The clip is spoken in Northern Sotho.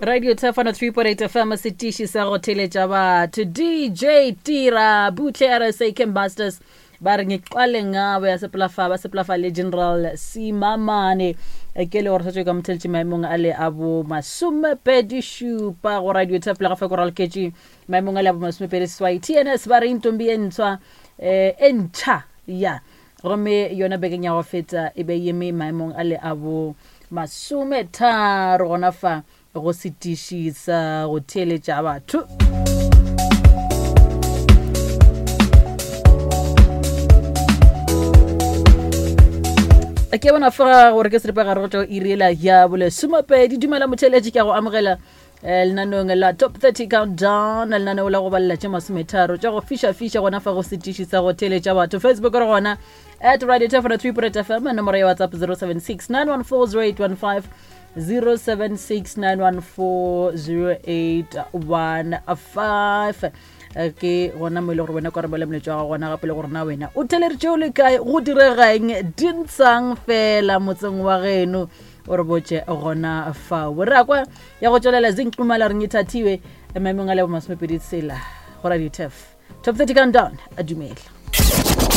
Radio Tefano 3.8 FM setiši sa go theletša batho DJ Tira Butle RSA Camp Masters ba re ngiqale ngabo ya sepelafa ba sepelafa le General Simamane e ke le gore setswe ka motheletše maemong a le a bo masomepedi šupa go Radio Tef le ga fa ko raloketše maemong a le a bo masomepedi seswai TNS ba re intombi e ntshwa eh, e ntšha ya Gomme yona bekeng ya go feta e be yeme maemong a le a bo masometharo gona fa go setiši sa go theeletša batho. Ke bona fa gore ke seripa gare go tšwa iri ela ya bolesomepedi. Dumela motheeletši, ke a go amogela Eh, lenaneong la top 30 countdown lenaneo la go balela tše masometharo tša go fiša-fiša gona fa go setiši sa go theeletša batho facebook re gona at radio tefona 3 point fm nomoro ya whatsapp 076 914 0815 076 914 0815 eh, ke gona mo e le gore wena kwa re bole moletšo wa gago gona gape le gore na wena o theleditše o le kae go diregang dintshang fela motseng wa geno o re botše gona fao re a kwa ya go tšwelela zinqumala re ngithathiwe maemong a lebo masomepedi tsela go radio tef top 30 countdown a dumela.